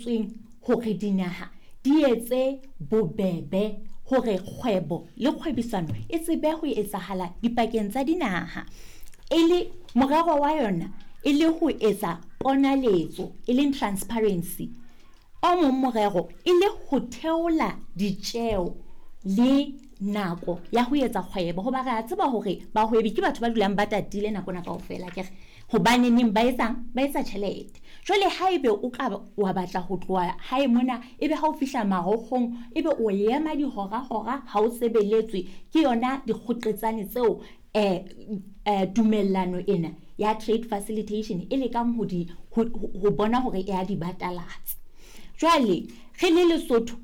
Tsweng hore dinaha di etse bobebe hore kgwebo le kgwebisano e tsebe ho etsahala dipakeng tsa dinaha. E le morero wa yona e le ho etsa ponaletso, e leng transparency. O mong morero e le ho theola ditjeo le nako ya ho etsa kgwebo, hoba re a tseba hore bahwebi ke batho ba dulang ba tatile nako ena kaofela, akere? Hobaneneng ba etsang? Ba etsa tjhelete. Jwale haebe o ka wa batla ho tloha hae mona, ebe ha o fihla marokgong ebe o ema dihora-hora ha o sebeletswe, ke yona dikgoqetsane tseo tumellano ena ya trade facilitation e lekang ho di ho bona hore e a di batalatsa. Jwale re le Lesotho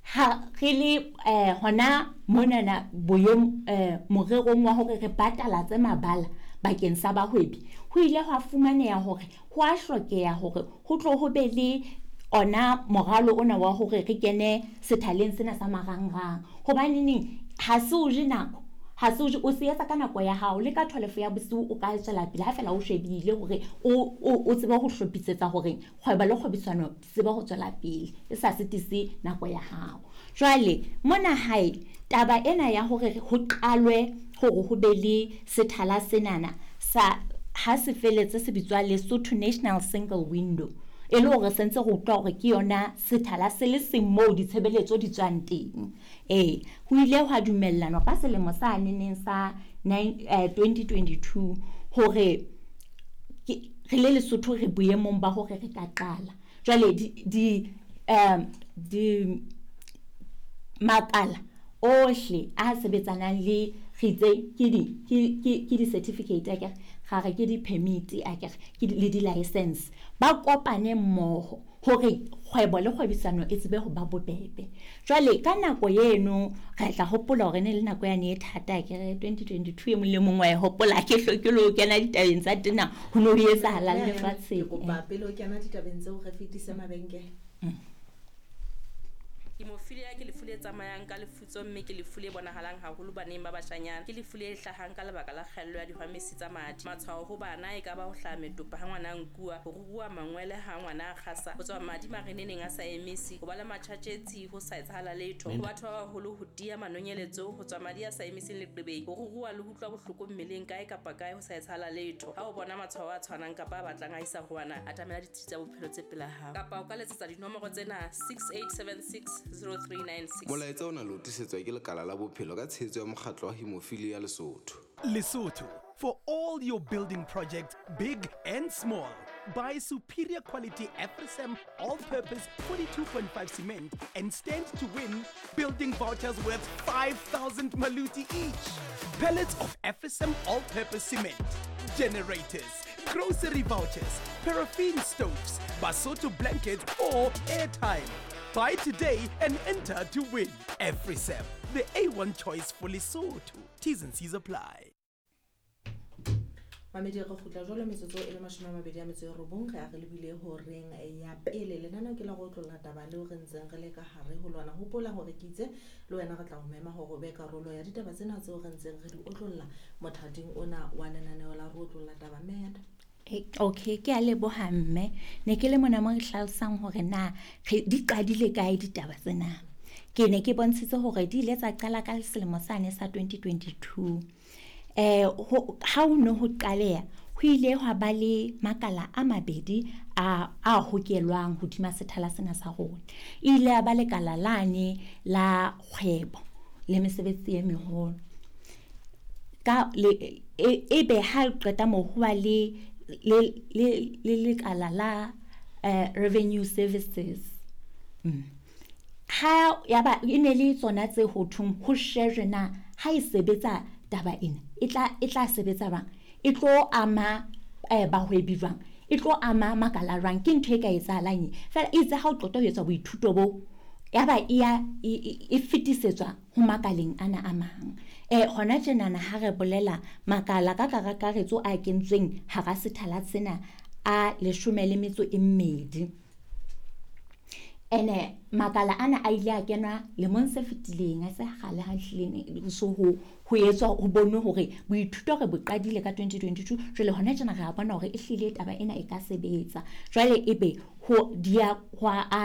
ha re le hona monana boyong morerong wa hore re batalatse mabala bakeng sa bahwebi, ho ile hwa fumaneha hore ho a hlokeha hore ho tlo ho be le ona moralo ona wa hore re kene sethaleng sena sa marangrang. Hobaneneng ha se o je nako, ha se o je, o se etsa ka nako ya hao, le ka 12 ya bosiu o ka tswela pele ha fela o shebile hore o tsebe ho hlophisetsa hore kgwebo le kgwebisano di tsebe ho tswela pele, e sa sitise nako ya hao. Jwale mona hae taba ena ya hore ho qalwe hore ho be le sethala senana sa ha se feletse se bitswa Lesotho National Single Window, e le hore sentse re utlwa hore ke yona sethala se le seng moo ditshebeletso di tswang teng. Ee, ho ile hwa dumellanwa ka selemo sa neneng sa 2022 hore re le Lesotho re boemong ba hore re ka qala. Jwale di makala ohle a sebetsanang le re itse ke di-certificate akere, ra re ke di-permit akere, ke le di-license, ba kopane mmoho hore kgwebo le kgwebisano e tsebe ho ba bobebe. Jwale ka nako eno re tla hopola hore ne le nako yane e thata akere, 2022 e mong le mong wa e hopola, ke hloke le ho kena ditabeng tsa tena ho no ho etsahalang lefatsheng. Ke kopa pele o kena ditabeng tseo re fetise mabenkele. Hemophilia ke lefu le tsamayang ka lefutso mme ke lefu le bonahalang haholo baneng ba bashanyana. Ke lefu le hlahang ka lebaka la kgaello ya dihwamesi tsa madi. Matshwao ho bana e ka ba ho hlaha metopa ha ngwana a nkuwa, ho ruruha mangwele ha ngwana a kgasa, ho tswa madi mareneneng a sa emise, ho ba le matjhatjhetsi ho sa etsahala letho. Ho batho ba baholo ho tiya manonyeletso, ho tswa madi a sa emiseng leqebeng, ho ruruha le ho utlwa bohloko mmeleng kae kapa kae ho sa etsahala letho. Ha o bona matshwao a tshwanang kapa a batlang a isa ho ana, atamela ditsi tsa bophelo tse pela hao. Kapa o ka letsetsa dinomoro tsena 6876 0396. Molaetsa ona le o tlisetswa ke Lekala la Bophelo ka tshehetso ya Mokgatlo wa Hemophilia Lesotho. Lesotho, for all your building projects, big and small. Buy superior quality Afrisam all-purpose 42.5 cement and stand to win building vouchers worth 5,000 maluti each. Pallets of Afrisam all-purpose cement, generators, grocery vouchers, paraffin stoves, Basotho blankets or airtime. Buy today and enter to win. Afrisam, the A1 choice for Lesotho. T's and C's apply. Mamedi, re kgutla jwalo metsotso e le 29 re a re lebile horeng ya pele. Lenaneo ke la go otlolla taba leo re ntseng re le ka hare ho lona. Hopola hore ke itse le wena re tla o mema hore o be karolo ya ditaba tsena tseo re ntseng re di otlolla mothating ona wa lenaneo la re otlolla taba. Mme Okay, ke a leboha mme. Ne ke le mona mo re hlalosang hore na re di qadile kae ditaba tsena. Ke ne ke bontshitse hore di ile tsa qala ka selemo sane sa 2022. Ha ho ne ho qaleha, ho ile hwa ba le makala a mabedi a hokelwang hodima sethala sena sa rona. E ile ya ba lekala lane la kgwebo le mesebetsi e meholo. Ka le e be ha qeta moo ho ba le lekala la revenue services. Ha ya ba e ne le tsona tse ho thong ho shejwe na ha e sebetsa taba ena e tla sebetsa jwang, e tlo ama bahwebi jwang, e tlo ama makala jwang, ke ntho e ka etsahalang e fela itse ha o qeta ho etsa boithuto bo ya ba e ya e fetisetswa ho makaleng ana a mang. Hona tjenana ha re bolela makala ka kakaretso a kentsweng hara sethala sena a 12. Ene makala ana a ile a kenwa lemong se fetileng, a se kgale ha hlileng so ho etswa ho bonwe hore boithuto re bo qadile ka 2022. Jwale hona tjena re a bona hore e hlile taba ena e ka sebetsa. Jwale ebe ho dia hwa a